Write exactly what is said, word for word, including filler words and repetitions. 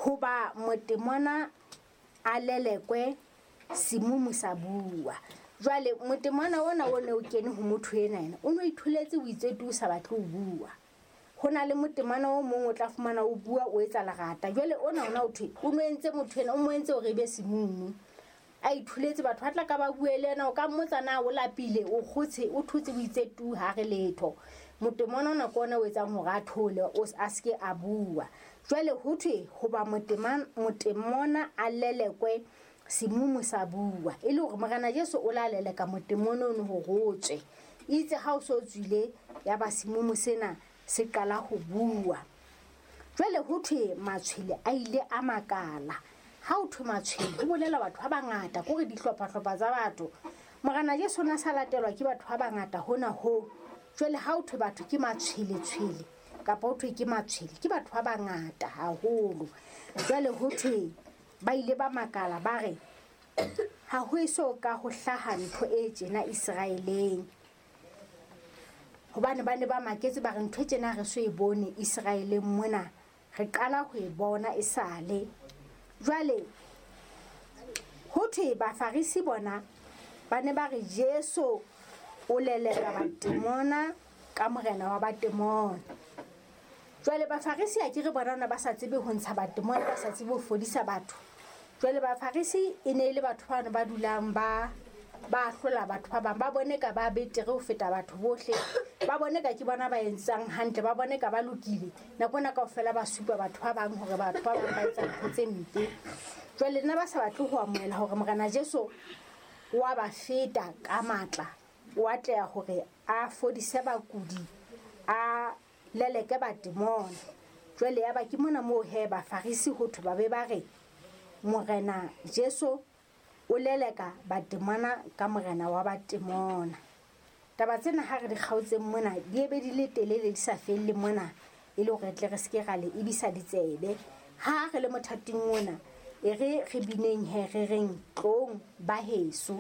Hoba motemona a lelekwe, semumu sa bua. Jwale motemona ona o ne o kene ho motho ena ena, o no itholetse o itse tu o sa batle ho bua. Ho na le motemona o mong o tla fumana o bua o etsa lerata. Jwale ona ona o thwe o no entse motho ena, o mo entse hore e be semumu. A itholetse, batho ba tla ka ba bue le yena, o ka mmotsa na o lapile, o kgotshe, o thotse, o itse tu ha re letho. Motemona ona ke ona o etsang hore a thole, o s-, a ske a bua. Jwale ho thwe hoba moteman-, motemona a lelekwe, semumu sa bua. E le hore Morena Jesu o la leleka motemona ono hore o tswe. Itse ha o so tswile, ya ba semumu sena se qala ho bua. Jwale ho thwe matshwele a ile a makala. Ha o thwe matshwele, ho bolela batho ba bangata, kore dihlopha-hlopha tsa batho. Morena Jesu o na sa latelwa ke batho ba bangata hona ho. Jwale ha o thwe batho ke matshwele-tshwele, kapa ho thwe ke matshwele, ke batho ba bangata haholo. Jwale ho thwe ba ile ba makala, ba re ha ho eso ka ho hlaha ntho e tjena Iseraeleng. Hobane ba ne ba maketse, ba re ntho e tjena re so e bone Iseraeleng mona, re qala ho e bona esale. Jwale ho thwe Bafarisi bona ba ne ba re Jesu o leleka batemona ka morena wa batemona. Jwale Bafarisi a ke re bona ba sa tsebe ho ntsha batemona, ba sa tsebe ho fodisa batho. Jwale Bafarisi e ne e le batho ba ne ba dulang ba, ba hlola batho ba bang, ba bone ka ba betere ho feta batho bohle, ba bone ka ke bona ba entsang hantle, ba bone ka ba lokile. Nako ena kaofela ba supa batho ba bang hore batho ba bang ba etsa ntho tse mpe. Jwale nna ba sa batle ho amohela hore Morena Jesu wa ba feta ka matla, o atleha hore a fodise bakudi, a leleke batemona. Jwale ya ba ke mona moo he Bafarisi ho thwe ba be ba re Morena Jesu o leleka batemona ka morena wa batemona. Taba tsena ha re di kgaotseng mona, di ebe di le telele di sa felle mona, e le hore re tle re seke ra le ebisa ditsebe. Ha re le mothating ona, e re re bineng he re reng tlong ba heso.